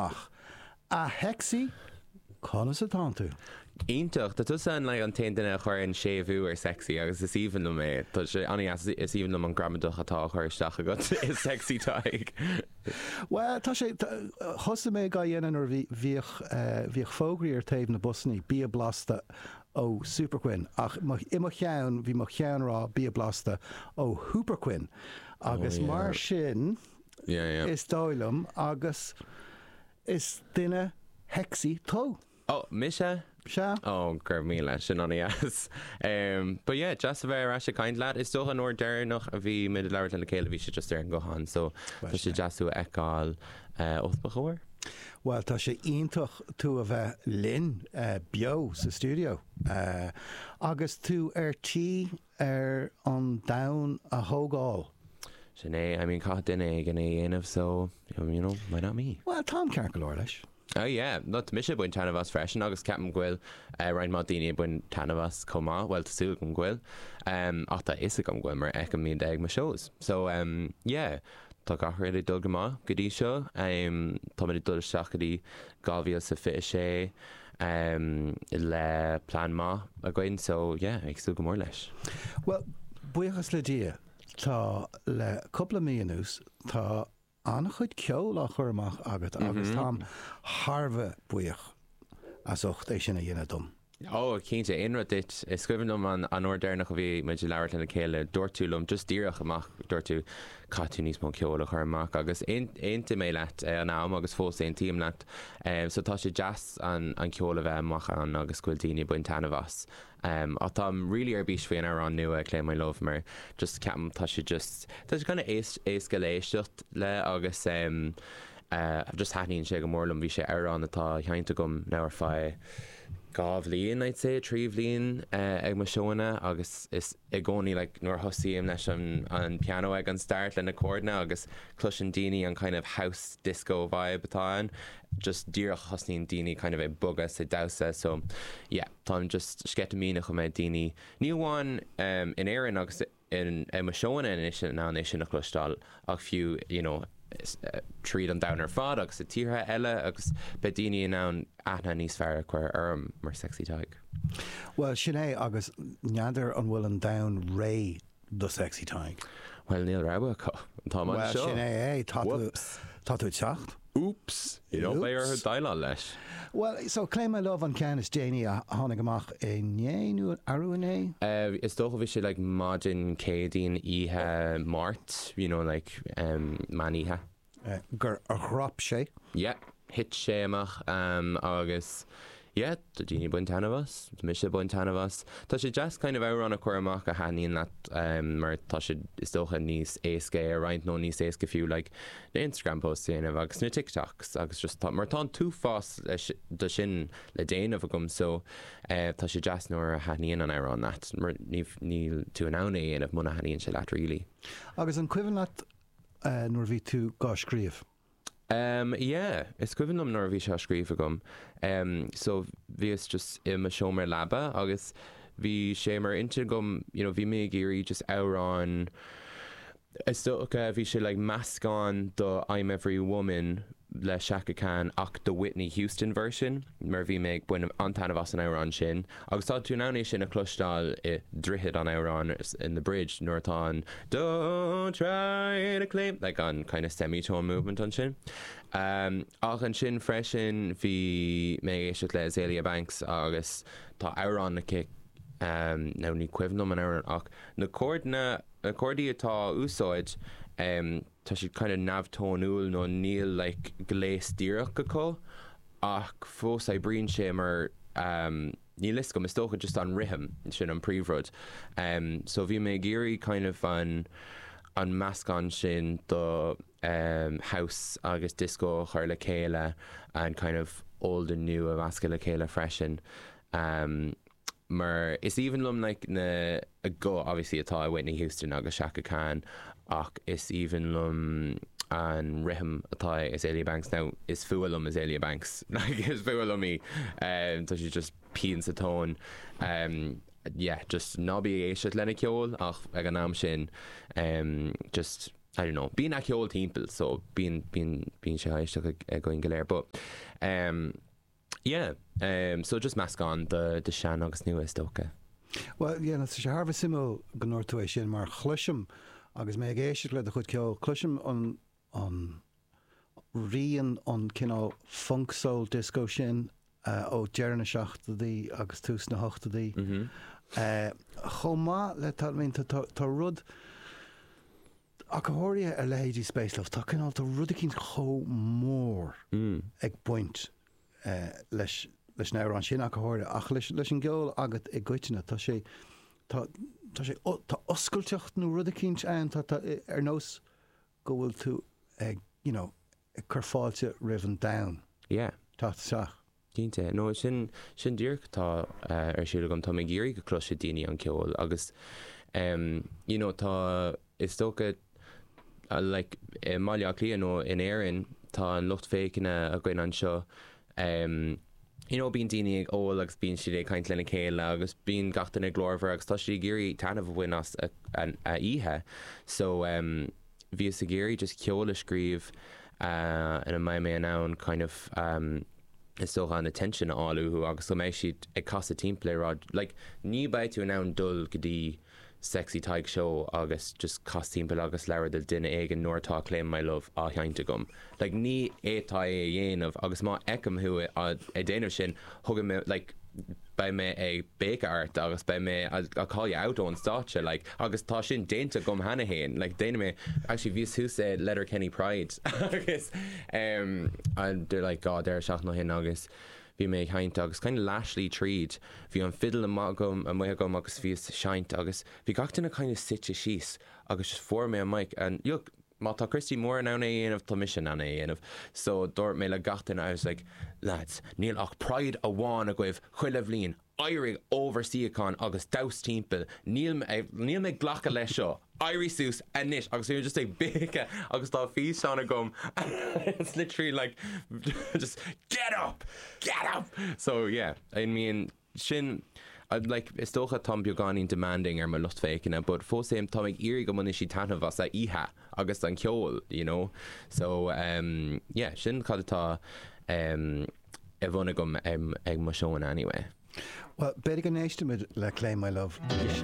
amach. A Shexy, conas atánn tú? Iontach! Tá tusa an like an t-aon duine a chuireann séimhiú ar sexy agus is aoibhinn liom é. Tá sé an-dheas. Is aoibhinn liom an gramadach atá á chur isteach agat i Sexy Tadhg. Bhuel, tá sé, thosaigh mé á dhéanamh nuair a bhí, bhíodh, bhíodh fógraí ar taobh na busannaí, bia blasta ó Superquinn, ach mo, i mo cheann, bhí mo cheann ag rá bia blasta ó Hooperquinn agus mar sin, is dóigh liom, agus is duine shexy tú. Oh, mise? Sea. Oh, go raibh míle, sin an-dheas. But yeah, deas a bheith ar ais ag caint leat. Is dócha an uair deireanach a bhí muid ag labhairt lena chéile bhí sé just ar an nguthán, so tá sé deas thú a fheiceáil os mo chomhair. Bhuel, tá sé iontach tú a bheith linn beo sa stiúideo agus tú ar tí ar an domhan a thógáil. Sin é, I mean caithfidh duine éigin é a dhéanamh so, you know, why not me? Bhuel, táim ceart go leor leis. Oh yeah, no, tá mise ag baint taitneamh as freisin agus ceapaim go bhfuil roinnt mhaith daoine ag baint taitneamh as chomh maith, bhuel tá súil agam go bhfuil, ach tá a fhios agam go bhfuil mar feicim iad ag mo shows. So yeah, tá gach rud ag dul go maith go dtí seo, táimid ag dul isteach go dtí 2026 le plean maith againn so yeah, ag súil go mór leis. Bhuel, buíochas le Dia, tá le cúpla mí anuas, tá an-chuid ceoil á chur amach agat agus táim thar a bheith buíoch as ucht é sin a dhéanamh dom. Ó, cinnte, aon rud duit. Is cuimhin liom an an uair deireanach a bhí muid ag labhairt lena chéile, dúirt tú liom, just díreach amach, dúirt tú, caithfidh tú níos mó ceoil a chur amach agus aontaigh mé leat ag an am agus fós aontaím leat. So tá sé deas an an ceol a bheith amach ann agus go bhfuil daoine ag baint taitneamh as. Ach táim really ar bís faoi an amhrán nua, Claim My Love, mar just ceapaim tá sé just, tá sé kind of éasca le éisteacht le agus just thaitníonn sé go mór liom. Bhí sé amhrán atá seinnte agam now ar feadh 2 bhliain I'd say, 3 bhliain ag mo seóanna agus is i gcónaí like nuair a thosaím leis an an piano ag an start le na chordanna agus cloiseann daoine an kind of house disco vibe atá ann, just díreach thosnaíonn daoine kind of ag bogadh is ag damhsa so yeah. Táim just sceitimíneach go mbeidh daoine, ní amháin in Éirinn agus in ag mo seóanna anois in ann é sin a chloisteáil ach fiú you know tríd an domhan ar fad agus i tíortha eile agus beidh daoine in ann aithne níos fearr a chur orm mar Sexy Tadhg. Bhuel, sin é agus n'fheadar an bhfuil an domhan réidh do Sexy Tadhg. Bhuel, níl rogha acu. Táim anseo. Bhuel, sin é é. Tá tú, Whoops. tá tú ag teacht. Oops! You know, beidh orthu déileáil leis. Bhuel, so Claim My Love an ceann is déanaí a tháinig amach inné nó arú inné? Is dócha bhí sé like maidin Céadaoin oíche Máirt, you know, like meán oíche. gur dhrop sé. Yeah, thit sé amach agus yeah, tá daoine ag baint taitneamh as, tá mise ag baint taitneamh as. Tá sé deas kind of amhrán a chur amach a thaitníonn leat mar tá sé is dócha níos éasca é a roinnt nó níos éasca fiú like na Instagram posts a dhéanamh agus na TikToks agus just tá, mar tá an t-uafás de sin le déanamh agam so tá sé deas nuair a thaitníonn an amhrán leat mar níl tú in ann é a dhéanamh muna thaitníonn sé leat really. Agus an cuimhin leat nuair a bhí tú dhá scríobh? Em, yeah, is cuimhin liom nuair a bhí sé á scríobh agam. Em, so bhíos just i mo seomra leaba agus bhí sé mar intinn agam, you know, bhí mé ag iarraidh just amhrán, is dócha, bhí sé like meascán do I'm Every Woman le Chaka Khan ach the Whitney Houston version mar bhí mé ag baint an-taitneamh as an amhrán sin agus tá tú in ann é sin a chloisteáil i droichead an amhráin in the bridge nuair atá an Don't try to claim like an kind of semitone movement ansin. Ach ansin freisin bhí mé ag éisteacht le Azealia Banks agus tá amhrán aici now ní cuimhin liom an amhrán ach na chordanna na cordaí atá á úsáid tá siad kind of neamhtónúil nó níl like gléas díreach acu ach fós oibríonn sé mar níl fhios agam, is dócha just an rithim, sin an príomhrud. So bhí mé ag iarraidh kind of an an meascán sin do house agus disco a chur le chéile and kind of old and new a mheascadh le chéile freisin. Mar is aoibhinn liom like na guth obviously atá ag Whitney Houston agus Chaka Khan ach is aoibhinn liom an rithim atá ag Azealia Banks. Now is fuath liom Azealia Banks like is fuath liom í tá sí just pian sa tóin yeah just ná bí ag éisteacht lena ceol ach ag an am sin just. I don't know, bíonn a' ceol timpeall so bíonn, bíonn, bíonn sé á éisteacht againn go léir but um yeah um so just meascán de, de sean agus nua is dócha. Bhuel yeah tá sé thar a bheith suimiúil go ndúirt tú é sin mar chloisim agus mé ag éisteacht le do chuid ceoil, cloisim an, an rian an cineál funk soul disco sin ó deireadh na seachtóidí agus tús na hochtóidí. Chomh maith le tá I mean tá tá rud ach go háirithe ar leithéidí Space Love tá cineál tá rud eicínt chomh mór ag baint leis leis an amhrán sin ach go háirithe ach leis leis an gceol agat i gcoitinne tá sé tá tá sé tá oscailteacht nó rud eicínt ann tá tá ar nós go bhfuil tú ag, you know, ag cur fáilte roimh an domhan Yeah. teacht isteach. Cinnte. No, sin, sin díreach atá ar siúl agam. Táim ag iarraidh go gcloisfidh daoine an ceol agus em, you know, tá, is dócha, like, i mBaile Átha Cliath nó in Éirinn, tá an lucht féachana againn anseo, em, you know, bíonn daoine ag ól agus bíonn siad ag caint lena chéile agus bíonn gach duine glórmhar agus tá siad ag iarraidh taitneamh a bhaint as a, a, a oíche. So, em, bhíos ag iarraidh just ceol a scríobh eh, ina mbeidh mé in ann kind of, em, is dócha an attention a fháil uathu agus go mbeidh siad ag casadh timpeall ag rá, like, ní beidh tú in ann dul go dtí Sexy Tadhg Show agus just cas timpeall agus labhair le duine éigin nuair atá Claim My Love á sheinnt agam. Like ní fhéadfá é a dhéanamh agus má fheicim thú ag déanamh sin thógfaidh mé like beidh mé ag béiceadh ort agus beidh mé I'll call you out ón stáitse like agus tá sin déanta agam cheana féin like déanfaidh mé actually bhíos thuas i Letterkenny Pride agus um they're like God deireadh seachtaine ó shin agus Bhí mé ag seinnt agus kind of leathshlí tríd, bhí an fidil amuigh agam, amuigh agam agus bhíos ag seinnt agus bhí gach duine kind of suite síos agus just fuair mé an mic and look, má tá Christy Moore in ann é a dhéanamh, tá mise in ann é a dhéanamh. So dúirt mé le gach duine, I was like, lads, níl ach Pride amháin agaibh chuile bhliain, éirigh ó bhur suíochán agus damhsa timpeall, níl mé, níl mé ag glacadh leis seo, éirigh suas anois agus bhí mé just ag béiceadh agus tá físeán agam it's literally like just get up, get up! So yeah, I mean sin like is dócha táim beagáinín demanding ar mo lucht féachana but fós féin táim ag iarraidh go mbainfidh siad taitneamh as a oíche agus an ceol, you know? So um yeah, sin cad atá um i bhun agam ag mo seónna anyway. Bhuel, b'fhéidir go n-éistfimid le Claim My Love anois.